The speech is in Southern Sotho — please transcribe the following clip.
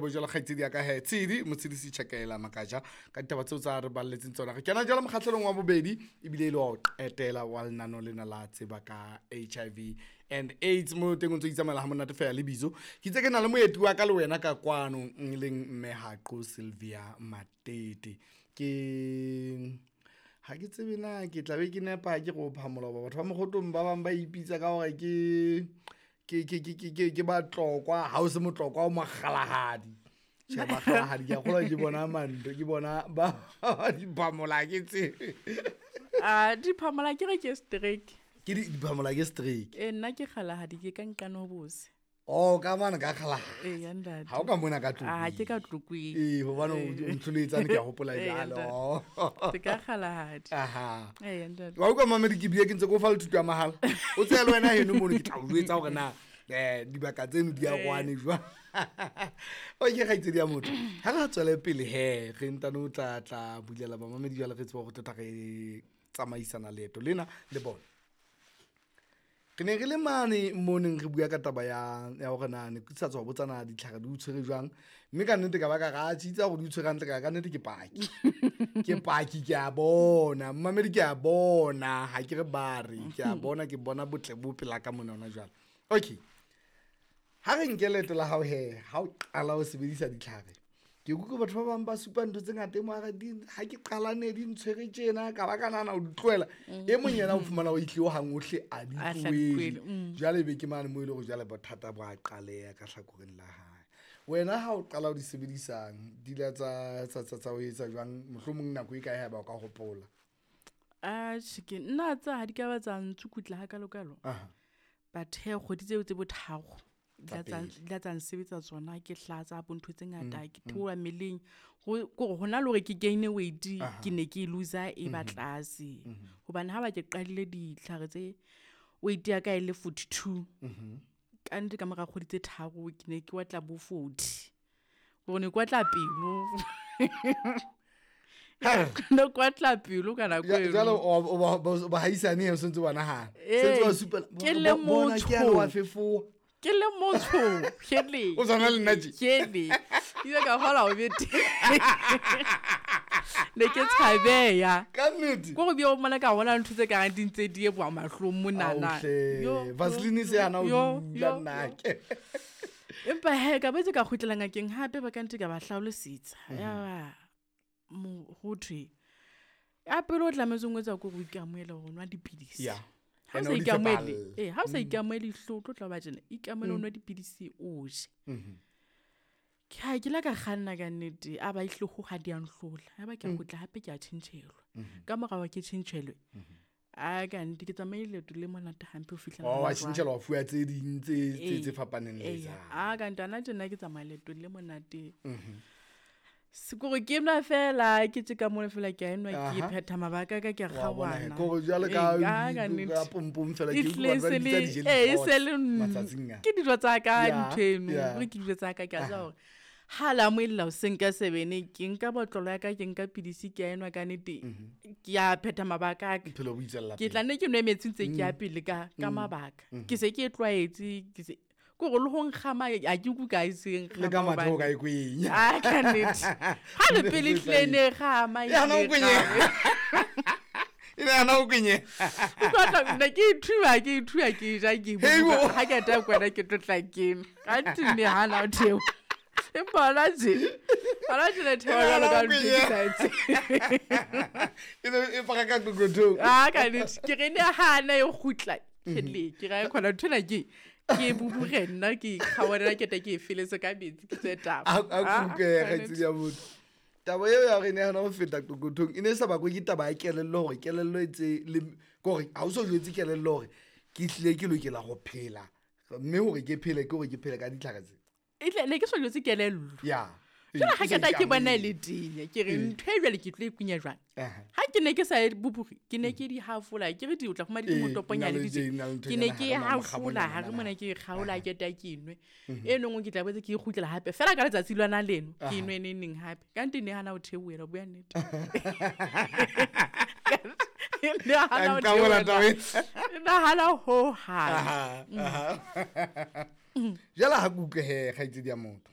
Bo jalo kgaitsedi ya ka he Tshedi Motshedisi Tjhakela Makaja ka ditaba tseo tsa re balletseng tsona. Re kena jalo mokgahlelong wa bobedi ebile e le wa ho qetela wa lenano lena la tseba ka HIV and AIDS. Mo teng o ntso itsamaela ha monate feela le bizo. Ke itse ke na le moeti wa ka le wena ka kwano e leng mme Haqo Sylvia Matete. Ke ha ke tsebe na ke tla be ke nepa ke go phamola hoba batho ba Mokgotong ba bang ba ipitsa ka hore ke ke ke ke ke ke ke batlokwa ha o se motlokwa o mokgalahadi. Tjhe, bakgalahadi ke a kgolwa ke bona manto ke bona ba diphamola ke tsebe. A diphamola ke re ke strike. Ke diphamola ke strike. E nna ke kgalahadi ke ka nqane ho bose. Oh, ka mane ka kgalahadi. Ee, ya ntate. Ha o ka mona ka Tlokweng. Ah, ke ka Tlokweng. Ee, hobane o ntlholetsane ke a hopola Ee, jwalo. ntate. Ke ka kgalahadi. Aha. Ee, ya ntate. Wa utlwa mamedi ke bile ke ntse ke o fa le thuto ya mahala. O tseye le wena heno mono ke tla o jwetsa hore na dibaka tseno di a kwane jwang. Okay, kgaitsedi ya motho. Ha re tswele pele he, re ntane o tla tla bulela bamamedi jwale re tseba hore tota re tsamaisana leeto lena le bona. Re ne re le mane mo neng re bua ka taba ya ya hore na ne ke sa tswa botsa na ditlhare di o tshwere jwang. Mme ka nnete ka ba ka ra tjitsa hore di o tshwere hantle ka ka nnete ke paki. Ke paki ke a bona, mmamedi ke a bona, ha ke re ba re, ke a bona, ke bona botle bo pela ka mona hona jwale. Okay. Ha re nke leeto la hao he, ha o qala ho sebedisa ditlhare. Ke utlwe batho ba bang ba supa ntho tse ngata e mo a re di, ha ke qala ne di ntshwere tjena, ka ba ka nahana ho di tlohela. E mong yena o fumana o itlile hang ohle a di A hla tlohele. di tlohele. Jwale ebe ke mane moo e leng hore jwale bothata bo a qaleha ka hlakoreng la hae. Wena ha o qala ho di sebedisang, di la tsa, tsa, tsa, tsa o etsa jwang? Mohlomong nako e kae haeba o ka hopola? Atjhe, ke nna tsa ha di ka ba tsa ntsukutla hakalokalo. Aha. But he, kgwedi tseo tse bo tharo. Tsa Di pele. la tsa nsebetsa tsona, ke hlatsa bo ntho tse ngata, ke theoha mmeleng. Ho, kore hona le hore ke gain weight, ke ne ke loser e ba tlase. Hobane ha ba ke qadile ditlhare tse, weight ya ka e le 42. Ka nnete ka mora kgwedi tse tharo, ke ne ke batla bo 40. Hore ne ke batla pelo. Ne ke batla pelo ka nako eno. Jwale o ba, ba, ba haisane he, o sentse o ba nahana. Ee, Sentse o ba supela, ke le bona ke yane motho. wa fefowa. Ke le motho, hele. O tshwana le nna tje. Hele. Ke ile ka kgola ho bete. Ne ke tshabeya. Ka nnete? Ko go bia o mona ka bona ntho tse kareng di ntse di eboa mahlong monana. Aohle. Yo, yo, Vaseline se hana ho yo, dula yo, nna yo. ke. Empa he, ka boetse ka kgutlela ngakeng hape ba ka nte ka ba hlalosetsa. Ya ba, mo, ho thwe, ya pele o tlametse o etsa ko go ikamohela hore o nwa dipidisi. Yeah. Ha o And sa o di ikamohele, tshepahalle. ee, ha o sa ikamohele ihlo, o tlo tla ba tjena, ikamohele o nwa dipidisi o je. Ke ha ke la ka kganna ka nnete, a ba ihlo ho ha di a nhlola. Ya ba ke a kgutla hape ke a tjhentjhelwa. Ka mora wa ke tjhentjhelwe. A ka nnete ke tsamaile leeto le monate hampe ho fihlela Oh, wa hona jwale. tjhentjhelwa, wa fuwa tse ding tse, Ee, tse fapaneng le ee, tsa. a ka nnete, hana tjena ke tsamaya leeto le monate. Sekore ke nwa fela, ke tje ka mona fela ke a enwa, ke phetha mabaka a ka, ke a Wa bona he, kgaohana. kore jwale ka Ee, ka ka nnete. ka pompong fela, E ke utlwa tlile batho ba se di bitsa le- di-jelly ee, e pots se le matsatsing a. ke dijo tsa ka Yeah, ntho eno, yeah. hore ke dijo tsa ka, ke a tseba hore ha la moella hoseng ka 7, ke nka botlolo ya ka, ke nka pidisi, ke a enwa ka nnete, ke a phetha mabaka a ka. Bophelo bo itswella Ke pele. tla nne ke nwe metsi ntse ke ya pele ka mabaka. Ke se ke e tlwaetse, ke se ke hore le ho nkgama, ha ke utlwe ka e se nkgama Le ka mathe o hobane ka e kwenya. Ah, ka nnete. Ha le pele e tlile ne e kgama, e E hana ho tlile e kwenyeha. kgama. E ne hana ho kwenyeha. O tlo tla, ne ke ithuba, ke ithuba, ke ja, ke Hei, bua. bo. Ha ke eta kwena, ke tlo tla ke nwa. Ka nnete ne hana ho theoha. Empa hona tje, hona tje le theoha E ne jwalo hana ka ho ntho e ke kwenyeha. sa e tsebeng. E ne e fara ka qoqothong. Ah, ka nnete. Ke re ne hana e kgutla. Ke le, ke ra e khona ntho ena ke, ke bubure nna, ke ikgawanela, ke tla ke e feletse ka metsi, ke tswe taba. A, a Ah, kuke, ka kgaitsedi nnete. ya motho. Taba eo ya hore e ne hana ho feta qoqothong, e ne e sa bakwe ke taba ya kelello hore kelello e tse le, ke hore ha o so jwetse kelello hore ke hlile ke lokela ho phela. Mme hore ke phele, ke hore ke phele ka ditlhare tse. E tle, ne ke so jwetse kelello. Ya. Jwale ha E ke tla ke bona e ikamohele. le tenya, ke re ntho e jwale ke tlo e kunya jwang? Aha. Ha ke ne ke sa e bubure, ke ne ke di hafola, ke re di o tla fumana di Ee, motoponyane nna le di tje. tje, nna le ntho Ke ne nyana ke hare mona, hafola, mokgabonyana hare mona. mona ke e kgaola, ke ta ke nwe. E nngwe ke tla boetse ke e kgutlela hape. Feela ka letsatsi lona leno, ke nwe neng neng hape. Ka nnete ne hana ho theohela, ho bua nnete. Ne hana ho Ka nqabola theohela. taba ena. Ne hana ho hang. Aha, aha. Jwale ha ke utlwe he, kgaitsedi ya motho.